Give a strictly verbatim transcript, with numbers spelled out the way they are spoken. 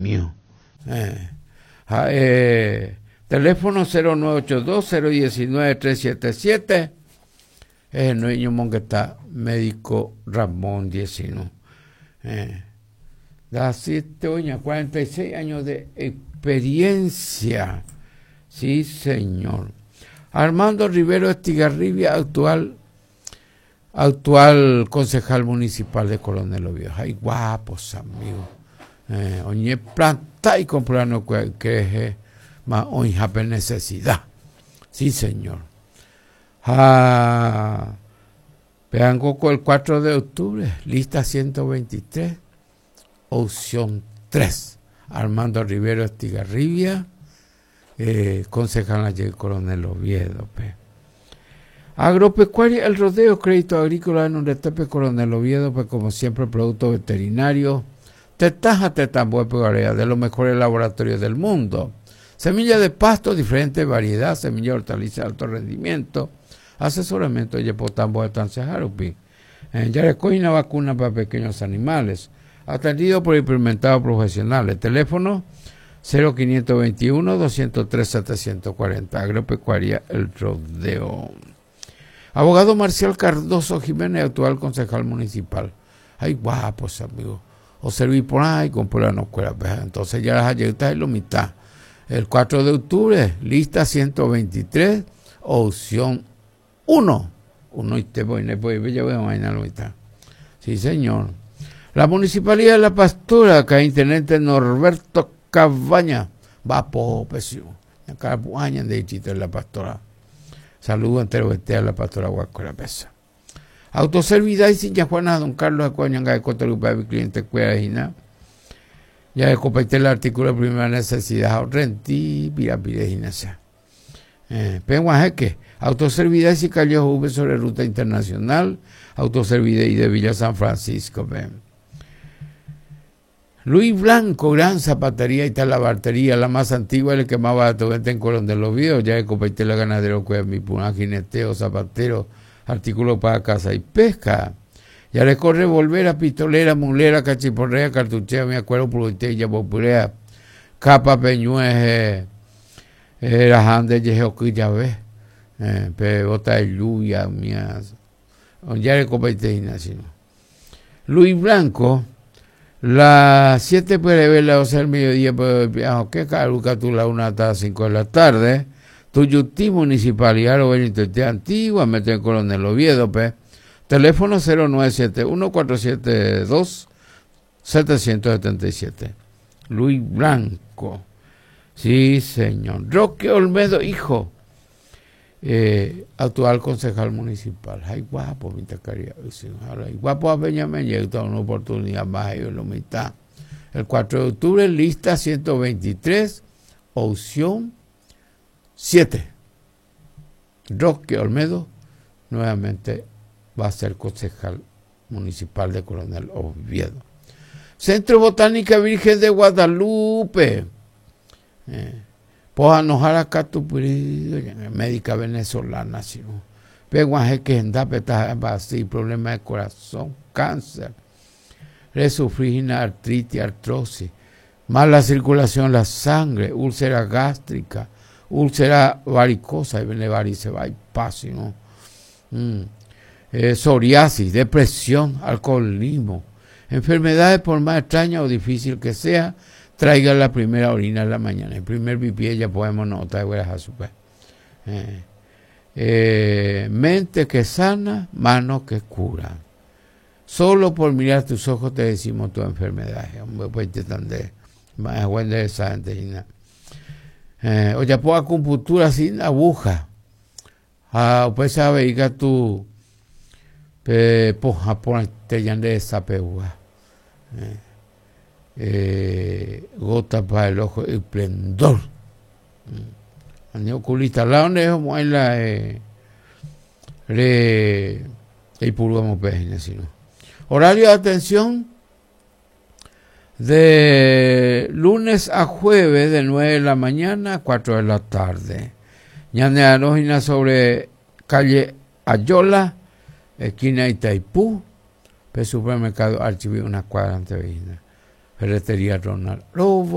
Mío. Eh, eh, teléfono cero nueve ocho dos, cero diecinueve, tres siete siete. Eh, no hay mongueta médico Ramón diecinueve. Eh, da siete años, cuarenta y seis años de experiencia. Sí, señor. Armando Rivero Estigarribia, actual, actual concejal municipal de Coronel Oviedo. Ay, guapos, amigos. Eh, oñe planta y comprando que, que es más hoy jape necesidad. Sí, señor. Ah, vean coco el cuatro de octubre, lista ciento veintitrés, opción tres. Armando Rivero Estigarribia, eh, concejal de Coronel Oviedo. Pe. Agropecuaria El Rodeo, crédito agrícola en un retape Coronel Oviedo, pues como siempre, producto veterinario. Tetaja, tetambue, pegorea, de los mejores laboratorios del mundo. Semilla de pasto, diferente variedad, semilla de hortaliza de alto rendimiento. Asesoramiento de Yepotambo de Tancejarupi. En Yarecoina, vacuna para pequeños animales. Atendido por experimentados profesionales. Teléfono cero quinientos veintiuno, doscientos tres, setecientos cuarenta. Agropecuaria El Rodeo. Abogado Marcial Cardoso Jiménez, actual concejal municipal. Ay, guapos, amigos. O serví por ahí, comprar la escuela. Entonces ya las ayetas es lo mitad. El cuatro de octubre, lista ciento veintitrés, opción uno. Uno y te voy, no voy, ya voy a imaginar la mitad. Sí, señor. La Municipalidad de La Pastora, acá Intendente Norberto Cabaña, va po, pesio. Acá de distrito de La Pastora. Saludo entero este a La Pastora Guacuera Pesa. Autoservidad y sin Juana, don Carlos Acuña, de Cotalupa, mi cliente Cuerajina. Ya de compartir el artículo de primera necesidad, rentí, pira, pirejina, sea. Eh, Penguajeque, Autoservidad y Callejo V sobre ruta internacional, Autoservidad y de Villa San Francisco. Pe. Luis Blanco, gran zapatería y talabartería, la más antigua, el que más barato vende en Coronel Oviedo, ya de compartir la ganadero, cueva, mi puna, jineteo, zapatero, artículo para casa y pesca. Ya le corre volver pistolera, mulera, cachiporrea, cartuchera, me acuerdo, purutella, popurea, capa, peñueje, eh, rajande, yejeoquilla, ve, eh, pe, bota de lluvia, mía, ya le compete, sino. Luis Blanco, las siete puede ver, las doce del mediodía, pues, ¿qué caruca tú la una hasta las cinco de la tarde? Tuyutí, Municipalidad, lo Antigua, mete en Coronel Oviedo, pe. Teléfono cero nueve siete uno, cuatro siete dos, setecientos setenta y siete. Luis Blanco. Sí, señor. Roque Olmedo, hijo. Eh, actual concejal municipal. Ay, guapo, mi tacaría. Ay, guapo a Benjamín, llega una oportunidad más, ellos lo mitad. El cuatro de octubre, lista ciento veintitrés, opción siete. Roque Olmedo, nuevamente va a ser concejal municipal de Coronel Oviedo. Centro Botánica Virgen de Guadalupe. Eh, Pojanojara Catupuri, médica venezolana, sino. Peguaje que así, problemas de corazón, cáncer, resufrigina, artritis, artrosis, mala circulación de la sangre, úlcera gástrica, úlcera varicosa, y viene varice, va y pasa, ¿no? Mm. Eh, psoriasis, depresión, alcoholismo, enfermedades por más extraña o difícil que sea, traiga la primera orina en la mañana. El primer pipí ya podemos notar, eh, eh, mente que sana, mano que cura. Solo por mirar tus ojos te decimos tu enfermedad. Hombre, pues te tan de más buen de esa gente. Eh, o ya puedo acupuntura sin aguja. Ah, pues sabe que tú pe poja por te de esa peua. Eh, eh, gota para el ojo, esplendor. Mm. Oculista, la donde es como en la eh, re y purgamos peña, sino. Horario de atención de lunes a jueves de nueve de la mañana a cuatro de la tarde. Ñane Arojina sobre calle Ayola, esquina Itaipú, pe supermercado Archiví, una cuadra antes de Virginia. Ferretería Ronald Robo.